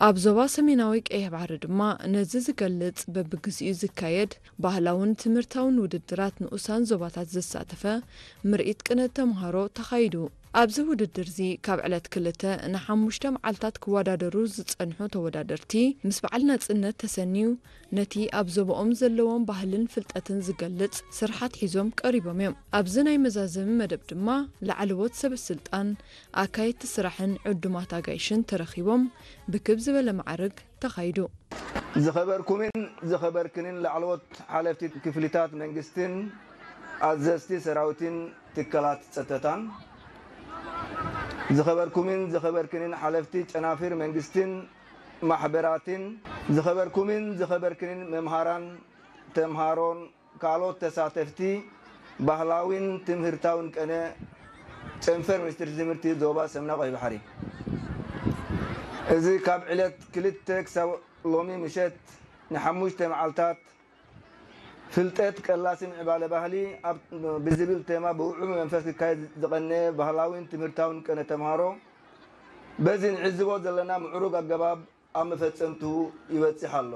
ኣብ ዞባ ሰሜናዊ ቀይሕ ባሕሪ ድማ ነዚ ዝገልጽ በብግዚኡ ዝካየድ ባህላውን ትምህርታውን ውድድራት ንኡሳን ዞባታት ዘሳተፈ ምርኢት ቅነ ተምሃሮ ተኻይዱ። ኣብዚ ውድድርዚ ካብ ዕለት ክልተ ንሓሙሽተ መዓልታት ክወዳደሩ ዝጸንሑ ተወዳደርቲ ምስ በዓል ናጽነት ተሰንዩ ነቲ ኣብ ዞባኦም ዘለዎም ባህልን ፍልጠትን ዝገልጽ ስርሓት ሒዞም ቀሪቦም እዮም። ኣብዚ ናይ መዛዘሚ መደብ ድማ ላዕለዎት ሰበ ስልጣን፣ ኣካየድቲ ስራሕን ዕዱማት ኣጋይሽን ተረኺቦም ብክብ ዝበለ ማዕርግ ተኻይዱ። ዝኸበርኩምን ዝኸበርክንን ላዕለዎት ሓለፍቲ ክፍሊታት መንግስትን ኣዘዝቲ ሰራዊትን ትካላት ጸጥታን፣ ዝኸበርኩምን ዝኸበርክንን ሓለፍቲ ጨናፍር መንግስትን ማሕበራትን፣ ዝኸበርኩምን ዝኸበርክንን መምሃራን ተምሃሮን ካልኦት ተሳተፍቲ ባህላዊን ትምህርታውን ቀነ ጨንፈር ሚኒስትሪ ትምህርቲ ዞባ ሰምና ቀይሕ ባሕሪ። እዚ ካብ ዕለት ክልተ ክሳብ ሎሚ ምሸት ንሓሙሽተ መዓልታት ፍልጠት ቀላሲ ምዕባለ ባህሊ ኣብ ብዝብል ቴማ ብውዑይ መንፈስ ክካየድ ዝቐነ ባህላዊን ትምህርታውን ቀነ ተምሃሮ በዚ ንዕዝቦ ዘለና ምዕሩግ ኣገባብ ኣብ መፈጸምትኡ ይበጽሕ ኣሎ።